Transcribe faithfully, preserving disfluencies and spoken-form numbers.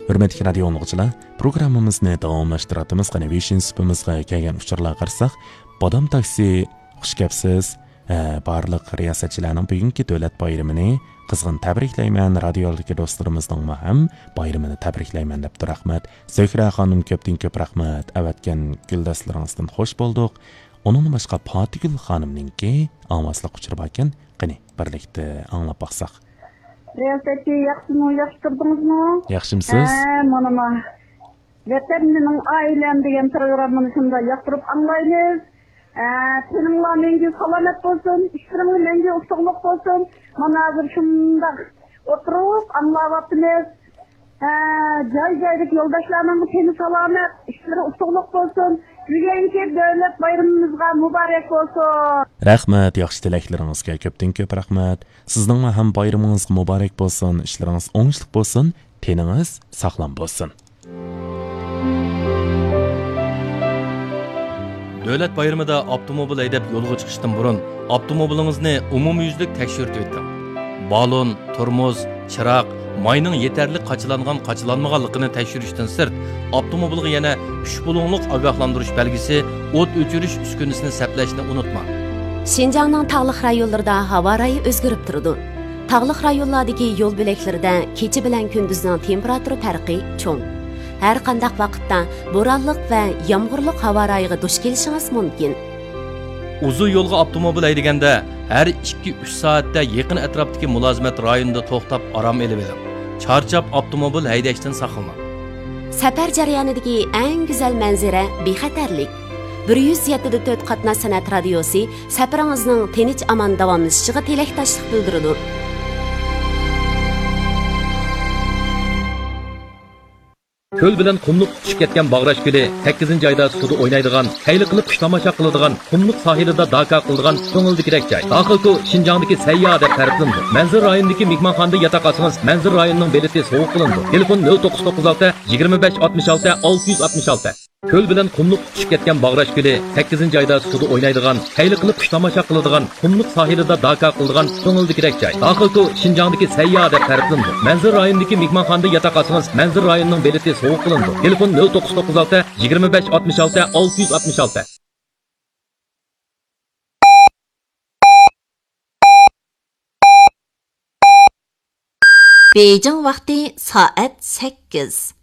ھۆرمەتلىك رادىيو ئاڭلىغۇچىلار، پروگراممىمىزنى داۋاملاشتۇرۇۋاتىمىز. قېنى، بېشىنچى سۇپىمىزغا كەلگەن ئۇچۇرلارغا قارىساق، بادام تاكسى، خۇش كەپسىز. ھە، بارلىق رىياسەتچىلەرنىڭ بۈگۈنكى دۆلەت بايرىمىنى قىزغىن تەبرىكلەيمەن، رادىيو ئالدىدىكى دوستلىرىمىزنىڭمۇ ھەم بايرىمىنى تەبرىكلەيمەن دەپتۇ. رەھمەت. زۆھرە خانىم، كۆپتىن كۆپ رەھمەت. ئەۋەتكەن گۈلدەستىلىرىڭىزدىن خوش بولدۇق. ئۇنىڭدىن باشقا پاتىگۈل خانىمنىڭكى ئاڭلىماسلىق ئۇچۇرى باركەن. قېنى، بىرلىكتە ئاڭلاپ باقساق. رىياسەتچى، ياخشىمۇ، ياخشى تۇردىڭىزمۇ؟ ياخشىمسىز؟ ھە، مانا ما. ۋەتەن مېنىڭ ئائىلەم دېگەن پروگراممىنى شۇنداق ياقتۇرۇپ ئاڭلايمىز. ھە، تېنىڭلار مەڭگۈ سالامەت بولسۇن، ئىشلىرىڭلار مەڭگۈ ئۇتۇقلۇق بولسۇن. مانا ھازىر شۇنداق ئولتۇرۇپ ئاڭلاۋاتىمىز. ھە، جاي-جايدىكى يولداشلارنىڭ تېنى سالامەت، ئىشلىرى ئۇتۇقلۇق بولسۇن. بۈگۈنكى دۆلەت بايرىمىمىزغا مۇبارەك بولسۇن. رەھمەت، ياخشى تىلەكلىرىڭىزگە كۆپتىن كۆپ رەھمەت. سىزنىڭمۇ ھەم بايرىمىڭىزغا مۇبارەك بولسۇن، ئىشلىرىڭىز ئوڭۇشلۇق بولسۇن، تېنىڭىز ساغلام بولسۇن. دۆلەت بايرىمىدا ئاپتوموبىل ھەيدەپ يولغا چىقىشتىن بۇرۇن، ئاپتوموبىلىڭىزنى ئومۇميۈزلۈك تەكشۈرتۈۋېتىڭ. بالون، تورمۇز، چىراغ، ماينىڭ يېتەرلىك قاچىلانغان-قاچىلانمىغانلىقىنى تەكشۈرۈشتىن سىرت، ئاپتوموبىلغا يەنە ئۈچ بۇلۇڭلۇق ئاگاھلاندۇرۇش بەلگىسى، ئوت ئۆچۈرۈش ئۈسكۈنىسىنى سەپلەشنى ئۇنتۇماڭ. شىنجاڭنىڭ تاغلىق رايونلىرىدا ھاۋا رايى ئۆزگىرىپ تۇرىدۇ. تاغلىق رايونلاردىكى يول بۆلەكلىرىدە كېچە بىلەن كۈندۈزنىڭ تېمپېراتۇرا پەرقى چوڭ. ھەر قانداق ۋاقىتتا بورانلىق ۋە يامغۇرلۇق ھاۋا رايىغا دۇچ كېلىشىڭىز مۇمكىن. ئۇزۇن يولغا ئاپتوموبىل ھەيدىگەندە، ھەر ئىككى-ئۈچ سائەتتە يېقىن ئەتراپتىكى مۇلازىمەت رايونىدا توختاپ ئارام ئېلىۋېلىڭ. چارچاپ ئاپتوموبىل ھەيدەشتىن ساقلىنىڭ. سەپەر جەريانىدىكى ئەڭ گۈزەل مەنزىرە بىخەتەرلىك. بىر يۈز يەتتە دە تۆت قاتناش سەنئەت رادىيوسى سەپىرىڭىزنىڭ تىنچ-ئامان داۋاملىشىشىغا تىلەكداشلىق بىلدۈرىدۇ. كۆل بىلەن قۇملۇق تۇتىشىپ كەتكەن باغراش كۆلى، سەككىزىنچى ئايدا سۇدا ئوينايدىغان، كەيلى قىلىپ قۇش تاماشا قىلىدىغان، قۇملۇق ساھىلىدا داكا قىلىدىغان كۆڭۈلدىكىدەك جاي. داخىلكو شىنجاڭدىكى سەيياھ دەپ تەرىپلىنىدۇ. مەنزىرە رايونىدىكى مېھمانخانىدا ياتاق ئالسىڭىز، مەنزىرە رايونىنىڭ بېلىتى سوۋغا قىلىنىدۇ. تېلېفون: نۆل توققۇز توققۇز ئالتە، يىگىرمە بەش، ئاتمىش ئالتە، ئالتە يۈز ئاتمىش ئالتە. كۆل بىلەن قۇملۇق تۇتۇشۇپ كەتكەن باغراش كۆلى، سەككىزىنچى ئايدا سۇدا ئوينايدىغان، كەيلى قىلىپ قۇش تاماشا قىلىدىغان، قۇملۇق ساھىلىدا داكا قىلىدىغان كۆڭۈلدىكىدەك جاي. داخىلكو شىنجاڭدىكى سەيياھ دەپ تەرىپلىنىدۇ. مەنزىرە رايونىدىكى مېھمانخانىدا ياتاق ئالسىڭىز، مەنزىرە رايونىنىڭ بېلىتى سوۋغا قىلىنىدۇ. تېلېفون: نۆل توققۇز توققۇز ئالتە، يىگىرمە بەش، ئاتمىش ئالتە، ئالتە يۈز ئاتمىش ئالتە. بېيجىڭ ۋاقتى سائەت سەككىز.